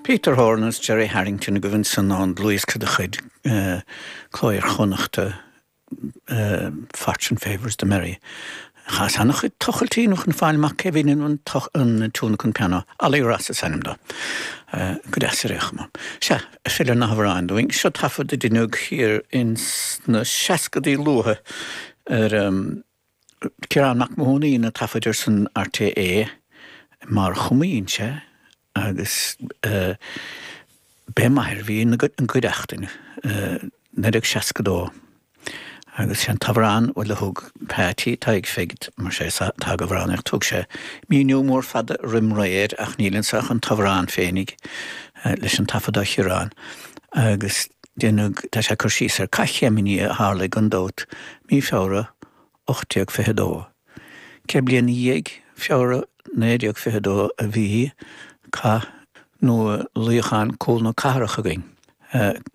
Peter Horan agus Gerry Harrington agaibh ansan ón dlúthdhiosca de chuid Cló Iar-Chonnachta, Fortune Favours the Merry. Chaitheas an-chuid tochailtí inniu chun fáil amach cé bhí in an tiúin an pianó. Ollie Ross is ainm dó. Go deas ar aon chuma. Sea, ag filleadh ar na hamhráin dúinn. Seo taifead a deineadh thiar ins na seascadaí luatha ar Ciarán Mac Mathúna a dhein na taifid ar son RTÉ i mBarr Choma Inse agus b'é m'athair a bhí ina gcuideachtain, 1962 agus sé an t-amhrán, bhuel a thug Peaití Tadhg Pheig mar sé atá ag amhránaíocht, thug sé míniú mór fada roim ré air ach níl anso ach an t-amhrán féinig leis an taifead ó Chiarán agus deineadh, tá sé ag cur síos ar Cath Chéimini a tharlaigh gan dabht mí Feabhra 1822. 100 bliain ina dhiaidh, Feabhra 1922, a bhí cath nó luíochán Cúl na Cathrach againn,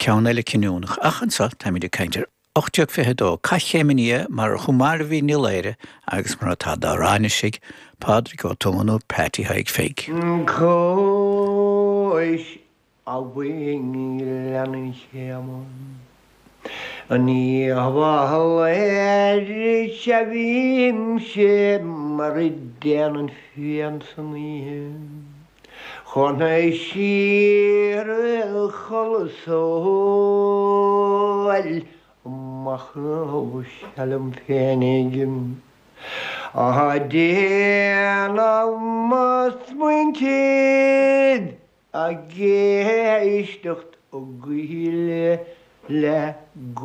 ceann eile cinniúnach. Ach anso táimid ag caint ar 1822, Cath Chéim an Fhia mar ar chomh maith a bhí i Laoire agus mar atá dár aithnisigh Pádraig Ó Tuama nó Peaití Thaidhg Pheig. Cois Abhainn Ghleann an Chéama. Ní hamhlaidh a bhímse mar a déanann fíon san oíche chun siar a chodladh 's óil machnamh seal liom féinig á déanamh mo smaointe Ag éisteacht i gcoill le.